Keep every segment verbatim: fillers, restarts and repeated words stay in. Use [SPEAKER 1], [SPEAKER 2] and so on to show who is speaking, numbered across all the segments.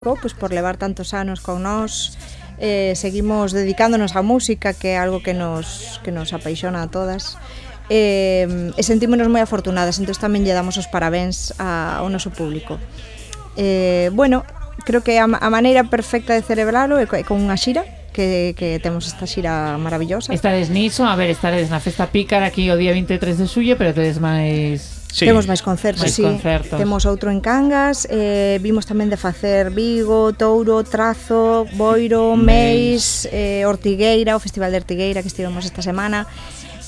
[SPEAKER 1] Pues por levar tantos anos con nós, eh, seguimos dedicándonos á música, que é algo que nos, que nos apaixona a todas, eh, e sentímonos moi afortunadas, entón tamén lle damos os parabéns a, ao noso público. Eh, bueno, creo que a, a maneira perfecta de celebralo é con unha xira, que, que temos esta xira maravillosa.
[SPEAKER 2] Estades niso, a ver, estades na Festa Pícara aquí o día vinte e tres de xullo, pero tedes máis...
[SPEAKER 1] Sí. Temos máis concertos,
[SPEAKER 2] máis
[SPEAKER 1] sí.
[SPEAKER 2] concertos.
[SPEAKER 1] Temos outro en Cangas, eh, vimos tamén de facer Vigo, Touro, Trazo, Boiro, Meis, eh, Ortigueira, o Festival de Ortigueira que estivemos esta semana.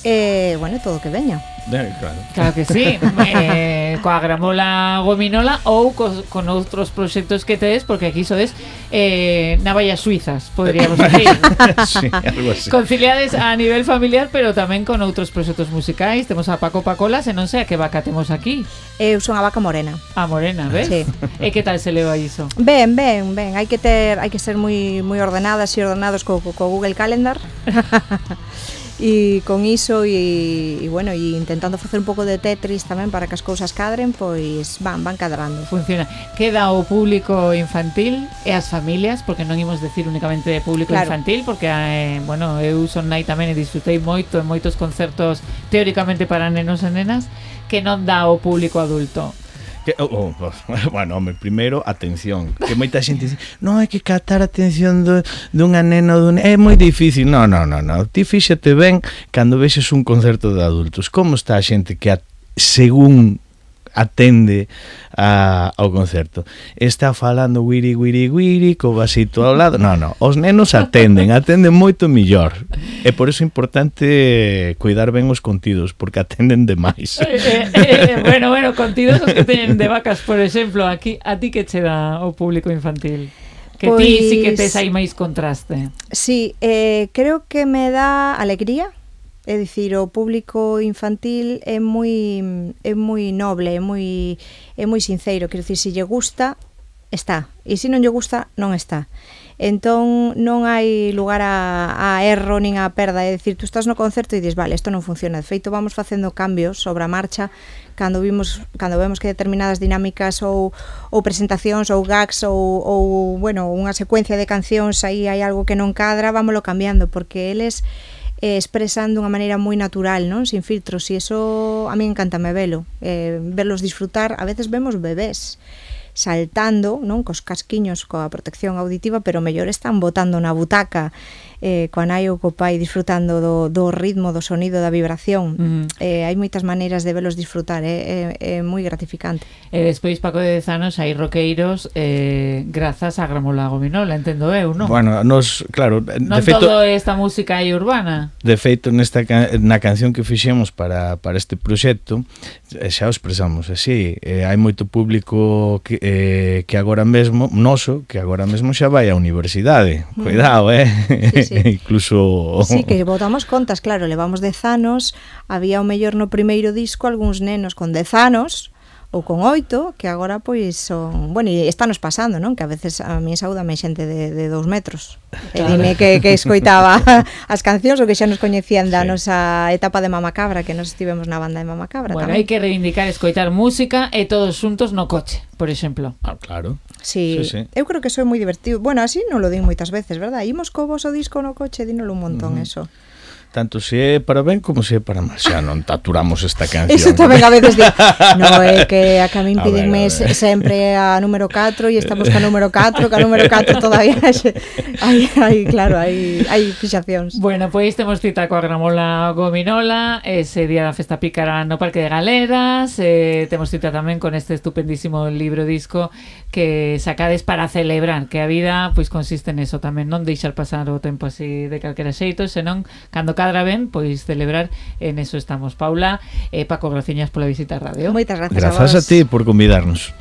[SPEAKER 1] Eh, bueno, todo o que veña.
[SPEAKER 3] Eh, claro.
[SPEAKER 2] Claro que sí. eh, coa Gramola Gominola ou co, con outros proxectos que tedes, porque aquí sodes eh, navallas suizas, poderíamos decir.
[SPEAKER 3] Sí, algo así.
[SPEAKER 2] Conciliades a nivel familiar, pero tamén con outros proxectos musicais. Temos a Paco Pacolas e non sei a que vaca temos aquí.
[SPEAKER 1] Eu son a vaca morena.
[SPEAKER 2] A morena, ves?
[SPEAKER 1] Sí.
[SPEAKER 2] E que tal se leva iso?
[SPEAKER 1] Ben, ben, ben. Hai que ter, hai que ser moi moi ordenadas e ordenados co, co, co Google Calendar. E con iso e, e bueno, e intentando facer un pouco de Tetris tamén para que as cousas cadren, pois van, van cadrando.
[SPEAKER 2] Funciona. Queda o público infantil e as familias, porque non imos decir únicamente de público claro. infantil, porque eh, bueno, eu son nai tamén e disfrutei moito en moitos concertos teóricamente para nenos e nenas, que non dá o público adulto.
[SPEAKER 3] Que, oh, oh, bueno, home, primeiro, atención. Que moita xente dice, non hai que captar a atención do, dunha nena ou dun... É moi difícil. Non, non, non, non. Ti fíxate ben cando vexes un concerto de adultos. Como está a xente que a, según atende a, ao concerto? Está falando guiri, guiri, guiri, co vasito ao lado. Non, non. Os nenos atenden, atenden moito millor. É por iso importante cuidar ben os contidos, porque atenden demais.
[SPEAKER 2] Eh, eh, eh, bueno, bueno, contidos os que teñen de vacas, por exemplo, aquí a ti que che dá o público infantil? Que
[SPEAKER 1] pois...
[SPEAKER 2] ti sí que tes aí máis contraste.
[SPEAKER 1] Sí, eh, creo que me dá alegría. É dicir, o público infantil é moi é moi noble, é moi é moi sincero, quero dicir, se lle gusta, está, e se non lle gusta, non está. Entón non hai lugar a, a erro nin a perda, é dicir, tú estás no concerto e dis, vale, isto non funciona. De feito, vamos facendo cambios sobre a marcha cando vimos cando vemos que determinadas dinámicas ou ou presentacións ou gags ou ou bueno, unha secuencia de cancións aí hai algo que non cadra, vámolo cambiando, porque eles eh, expresan dunha maneira moi natural, non? Sin filtros, e iso a mí encántame velo, eh, verlos disfrutar. A veces vemos bebés saltando, non, cos casquiños, coa protección auditiva, pero mellor están botando na butaca eh, coa nai ou co pai disfrutando do, do ritmo, do sonido, da vibración. Mm. Eh, hai moitas maneiras de velos disfrutar, é, é, é moi gratificante.
[SPEAKER 2] E despois, Paco de Dezanos, hai roqueiros eh, grazas a Gramola Gominola, entendo eu, non?
[SPEAKER 3] Bueno, nos, claro,
[SPEAKER 2] non
[SPEAKER 3] de feito,
[SPEAKER 2] todo esta música aí urbana.
[SPEAKER 3] De feito, nesta na canción que fixemos para, para este proxecto, xa o expresamos así, eh, hai moito público que, eh, que agora mesmo, noso, que agora mesmo xa vai á universidade. Mm. Cuidado, eh? Sí, sí. Incluso...
[SPEAKER 1] Sí, que botamos contas, claro, levamos dez anos, había o mellor no primeiro disco algúns nenos con dez anos, ou con oito, que agora pois son... Bueno, e está nos pasando, non? Que a veces a mí saúdame xente de, de dous metros. Claro. E dime que, que escoitaba as cancións ou que xa nos coñecían da sí. nosa etapa de Mamacabra, que nos estivemos na banda de Mamacabra.
[SPEAKER 2] Bueno,
[SPEAKER 1] tamén.
[SPEAKER 2] hai que reivindicar escoitar música e todos xuntos no coche, por exemplo.
[SPEAKER 3] Ah, claro.
[SPEAKER 1] Sí, sí, sí. Eu creo que soy moi divertido. Bueno, así non lo din moitas veces, verdad? Imos co voso disco no coche, dínolo un montón, uh-huh. eso.
[SPEAKER 3] Tanto se é para ben como se é para mal. Xa non taturamos esta canción.
[SPEAKER 1] Eso tamén a veces digo, no, é que a que a min pídenme sempre a número catro e estamos ca número catro, ca número catro todavía hai, hai, claro, hai, hai fixacións.
[SPEAKER 2] Bueno, pois temos cita coa Gramola Gominola ese día da Festa Pícara no Parque de Galeras, eh, temos cita tamén con este estupendísimo libro disco que sacades para celebrar que a vida pois consiste neso tamén, non deixar pasar o tempo así de calquera xeito, senón cando cadra ben, pois celebrar, en eso estamos. Paula e eh, Paco, graciñas pola visita á radio.
[SPEAKER 1] Moitas gracias,
[SPEAKER 3] Grazas
[SPEAKER 1] a vos.
[SPEAKER 3] a ti por convidarnos.